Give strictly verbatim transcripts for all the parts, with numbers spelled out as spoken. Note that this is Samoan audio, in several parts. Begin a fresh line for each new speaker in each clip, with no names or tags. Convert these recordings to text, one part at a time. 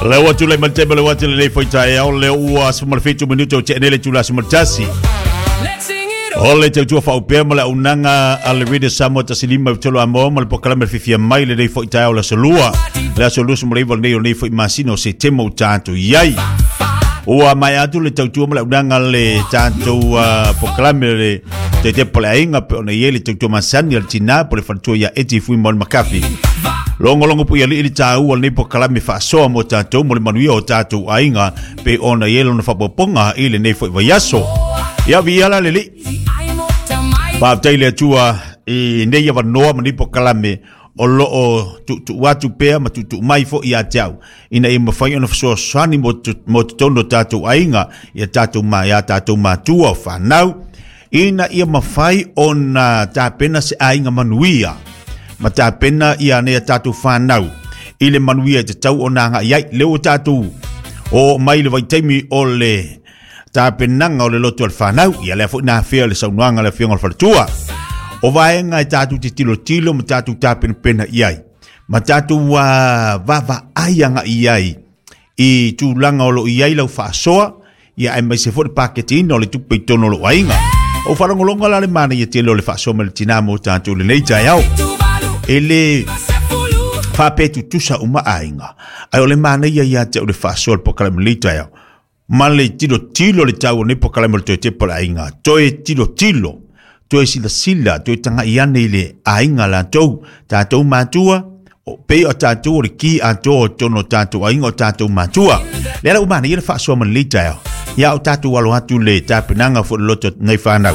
Leo atu le mante le watu le foi tae o le ua suma fitu minuto te nele tula suma tasi. Ole te tua whaupea ma le unanga a le Radio Samoa tasilima tolo amo ma le pokalame fifia mai le nei foi tae o le solua. Le aso lusu mo leiva nei o nei foi masino se temo tātou iai. Ua mai atu le tautua ma le unanga le tātou uh, pokalame le te te pole ainga pe ona ie le tautua masani al tina po le whantua ia eti fui mo le makafi. Longo longo pu ia li ili tāu al nei pokalame whaasoa mo tātou mo le manuia o tātou ainga pe ona ie lona whapoponga i le nei foi vaiaso. Ia vi ala le li. Whaatai le atua i nei awa noa ma nei pokalame o loo tu tu atu pea ma tu tu mai fo ia te au. Ina i mawhai ona whasoasani mo mo te tono tātou ainga ia tātou ma ia tātou matua o whanau. Ina ia mawhai ona tāpena se ainga manuia. Ma tāpena ia nea tātou whanau. I le manuia te tau o nā ngā iai. Leo tātou o mai le vaitaimi o le tāpenanga o le loto al whanau. Ia lea fo nā whia le saunuanga le whianga o le whalatua. O vaenga e tātou te tilo tilo ma tātou tāpena pena iai. Ma tātou uh, vava aianga iai. I tūlanga o lo iai lau whaasoa. Ia ai mai se fo le paketina o le tupe i tono lo ainga. O wharangolonga la le mana ia tele o le whaasoa ma le tinamo o tātou le nei tai au. E le whaapetu tusa uma ainga. Ai o le mana ia ia te o le whaasoa le pokalame le tai au. Ma le tilo tilo le tau o nei pokalame le toe te pola ainga. Toe tilo tilo. Toe sila sila, toe tanga iane i le ainga la tau, tātou mātua, o pe o tātou o le ki a tō o tono tātou ainga o tātou mātua. Le ala umana, ia le whaasoa man le taeo. Ia o tātou alo atu le tāpenanga fo le loto nei whanau.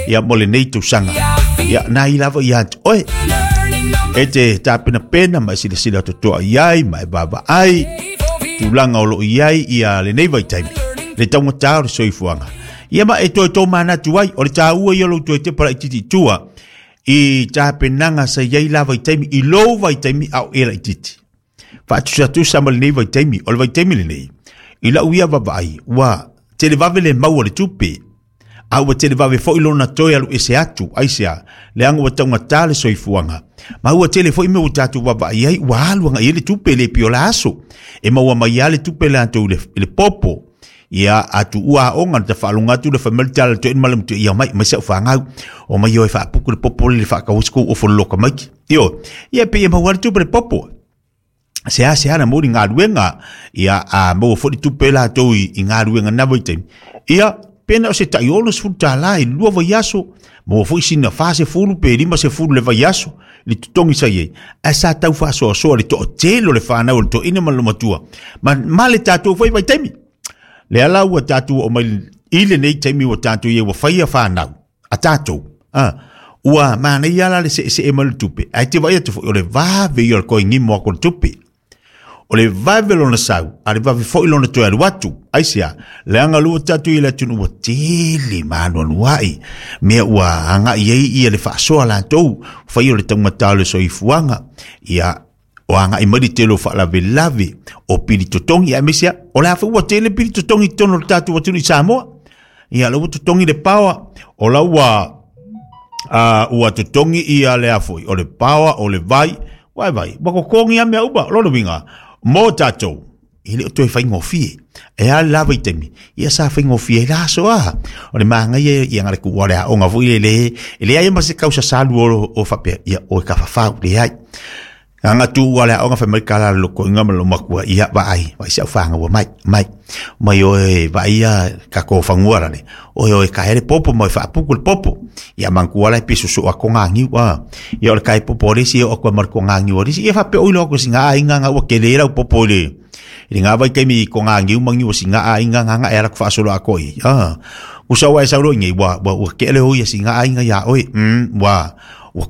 Ia mo le nei tausaga. Ia nā i lava ia atu, oe, e te tāpena pena mai sila sila totoa iai, mai vava ai, tūlanga o lo iai ia le nei vaitaimi. Le taunga o le soifuanga. Ia ma e toi tō mana atu ai, o le tāua ia lo toi te para i titi tua, i tāpenanga sa iai la vaitaimi, i lou vaitaimi au e la i titi. Whaatusa tusa ma le nei vaitaimi, o le vaitaimi le nei, i lau ia vavai, ua te le vave le maua le tupe, a ua te le vave fo i lona toi alu ese atu, aisea, le anga ua taunga tā le soifuanga. Ma ua tele fo i me ua tātou vavai ai, ua aluanga i le tupe le pio la aso, e maua mai a le tupe le antou le, le popo. Ia atu ua onga te whaalonga atu le whamel tala te inmalam te ia mai mai sa whangau o mai o e whaapuku le popo le whaakawasku o wholoka mai. Io, ia pe ia mawari tupe le popo. Se a se ana mori ngā ruenga ia a maua fori tupe la tau i, i ngā ruenga na vaitaimi. Ia pena o se tai ono sefulu tālā i lua vaiaso maua foi sina wha se fulu pe lima se fulu le vaiaso le tutongi sa iei. A sa tau whaasoasoa le to o telo le whanau le to ina ma le matua. Ma, ma le tātou fai vaitaimi. Le ala ua tātou o mai i le nei taimi ua tātou ia ua whaia whanau, a tātou, ah, ua mana ia la le se se e malu tupe. Ai te vai atu foi o le vave ia o le koi ngimo ako le tupe. O le vave lona sau, a le vave foi lona toe alu atu. Ai sea, le anga lua tātou i le atunu ua tele manu anuai. Mea ua anga iei ia le whaasoa lātou, whai o le taumata o le soifuanga, ia o anga i mari te lo whaalave lave o pili totongi. Ia mesia, o le awha ua tele pili totongi tono le tātou atunu i Samoa. Ia la ua totongi le pawa, o la ua, uh, ua totongi ia le afoi, o le pawa, o le vai, wai vai, wako kongi a mea uba, lono winga, mō tātou, i le o toe whaingofie. E a lava i temi, ia sa whaingofie la so a. O le maanga ia, ia ngare ku wale a onga fo i le le, e le ai ma se kausa salu o, o whapea, ia o e ka whawhau, le ai. Anga tu wale a onga whamai kala loko inga ma lomakua ia vai, vai se au whanga ua mai, mai. Mai oe vai ia ka ko whangua rane. Oe oe ka here popo mai whaapuku le popo. Ia mangkua lai piso so a ko ngā ngiu a. Ia o le kai popo resi o koe mar ko ngā ngiu resi. Ia whape oi loko si ngā inga ngā ua ke le rau popo le. I ngā vai keimi ko ngā ngiu mangi o si ngā inga ngā ngā e ara ku whaasolo a koi. Ah. Usa wa e sauro ingi wa wa wa ke le hoi si ngā inga ia oi. Mm wa